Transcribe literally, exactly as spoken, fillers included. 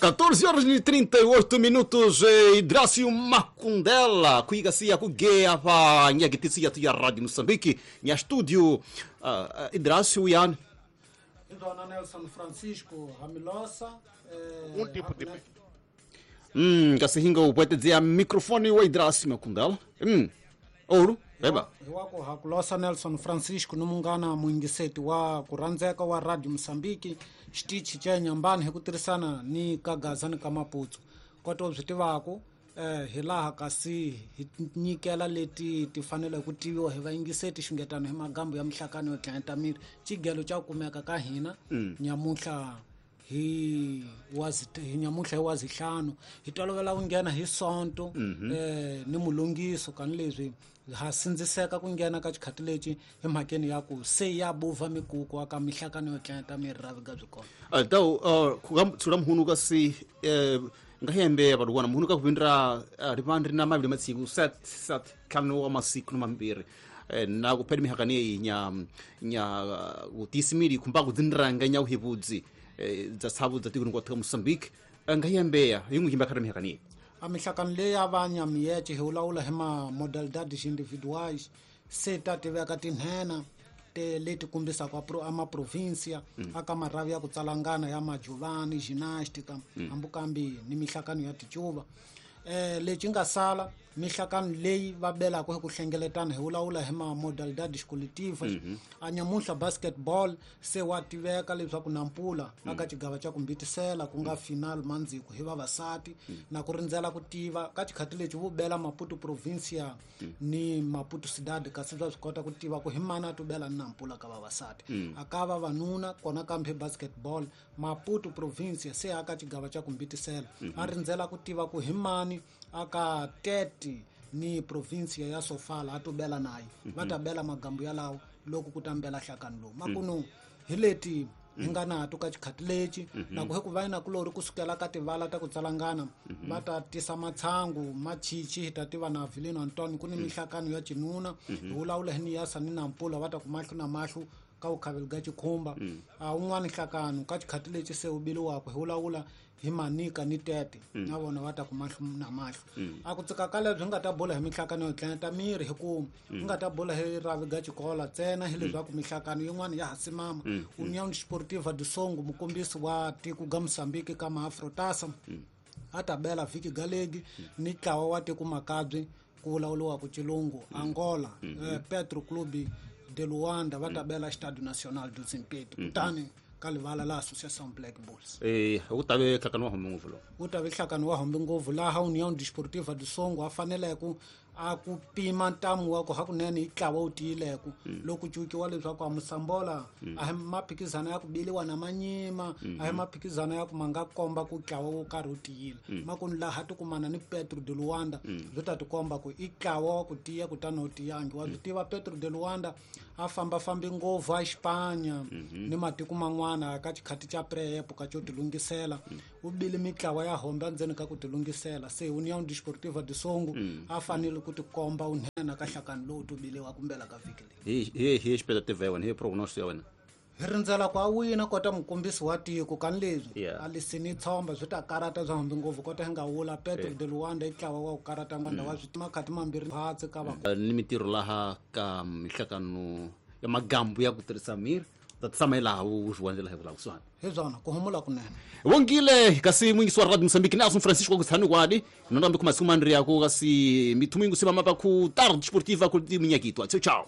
catorze horas e trinta e oito minutos, Idrácio Macundela, kuigasia kugeia pa nyagitisi ya ya Rádio Moçambique, nya estúdio, uh, Idrácio Ian. Dona Nelson Francisco Ramilosa. Um tipo de... Hum, kasi hinga upwete dizer microfone o Idrácio Macundela. Hum, ouro. Eba. Hiwako hakulosa Nelson Francisco numungana mwingiseti wa kuranzeka wa Radio Mozambique xitichi cha Nyambani hi ku tirhisana ni Kagaza ni ka Maputo koto byi tivako eh hilaha kasi hi nyikela leti ti fanele ku tiviwa hi vayingiseti xungetano hi magambo ya mihlakano yo tlhenta miri xigelo xa kumeka ka hina nyamuhla hi wazi hi nyamuhla hi wazihlanu hi tolovela ku nghena hi sonto eh ni mulungiso kan leswi ha sindziseka ku nghena ka xikhati lexi hi mhakeni ya ku se ya buva mikuku aka mihlakano yo tlhenta miri ra viga byi kona daw ku mhunu ka si nga hembe vaduwana mhunu ka kuvindra rivandri na mavili matsiku set set tlhanu wa masiku na mambirhi na ku phela mihakani yeyi nya nya utisimili khumba ku dzinranga nya uhivudzi dza tshavu dza tiko hinkwako ka Mozambique nga hembeya yi n'wi yimba khari mihakani yeyi a mihlakano leyi ya va nyamiyece hi vulavula hi ma modalidades individuais se ta tiveka tinhena te leti kombisaka a maprovinsia aka marhavi ya ku tsalangana ya majuvani ginástica hambukambi ni mihlakano ya ticuva eh lexi nga sala mihlakano leyi va belaka hi ku hlengeletana hi vulavula hi ma modalidades coletivas a nyamuhla basketball se wa tiveka leswaku Nampula aka xigava xa ku mbitisela ku nga final mandziko hi vavasati na ku rindzela ku tiva ka xikhati lexi vo bela Maputo provincia ni Maputo Cidade kasi bya swi kota ku tiva ku hi mani a to bela ni Nampula ka vavasati aka vavanuna kona kambe basketball Maputo provincia se aka xigava xa ku mbitisela a rindzela ku tiva ku hi mani aka Tete ni provincia ya Sofala a to bela naye va ta bela magambo yalawo loko ku tambela hlakano lowu makunu hi leti hi nga nato ka xikhati lexi na ku hi ku va na kulori kusukela ka tivala ta ku tsalangana va ta tisa matshangu machichi hi ta tiva na Vilino Antonio ku ni mihlakano ya cinuna hi vulavula hi Niyasa ni Nampula va ta ku mahlo na mahlo ka vukhaveli ga xikhumba a un'wana nhlakano ka xikhati lexi se wu biliwaka hi vulavula hi Manika ni Tete na vona va ta ku mahlo na mahlo a ku tsika ka lebyi nga ta bula hi mihlakano yo tlhenta miri hi ku nga ta bula hi ravi ga xikola ntsena hi leswaku mihlakano yin'wana ya ha simama União Desportiva do Songo mukombisi wa tiko ga Mozambique ka maafrotasa a ta bela vhiki galegi ni ntlawa wa tiko Makabye ku vulavuriwa ku Chilungu Angola Petro Clube de Luanda va ta bela Estádio Nacional do Zimpeto kutani ka livala la Associação Black Bulls eh u ta ve hlakano wa hombe ngopfu lo u ta ve hlakano wa hombe ngopfu laha União Desportiva do Songo a fanele ku a ku pima ntamu wa ku hakunene hi ntlawa wu tiyileko loko cukiwa leswaku a Musambola a hi maphikizano ya ku biliwa na manyima a hi maphikizano ya ku ma nga komba ku ntlawa wo karhi wu tiyile makunu laha tikumana ni Petro de Luanda byi ta tikomba ku i ntlawa wa ku tiya kutani wu tiyangi wa byi tiva Petro de Luanda a fambafambi ngopfu a Xipanya ni matiko man'wana ka xikhati xa pre-epoka xo tilungisela u bile mitlawa ya hombe endzeni ka ku tilungisela se União Desportiva do Songo a fanele ku tikomba unhena ka hlakano lowu tubiliwa kumbela ka vhiki leyi hi hi expectative ya wena hi prognosis ya wena hi rindzela ku a wina kota mukombisi wa tiko kan leswi a lisini tshomba swi ta karata bya hambi ngopfu kota hi nga wula Petro de Luanda i ntlawa wa ku karata ngwanda wa swi makhati mambirhi hatsi ka va ni mitirho laha ka mihlakano ya magambu ya ku tirhisa miri ta tshama hi laha wu swi wandzela hi vulavurisana hi byona ku humula kunene wongile kasi mwingisi wa Radio Mozambique Nelson Francisco ku tshani kwadi nonda mbi kumasiku mandri yako kasi mithumu yingu sima mapa ku Tarde Desportiva ku minyakitwa ciao ciao.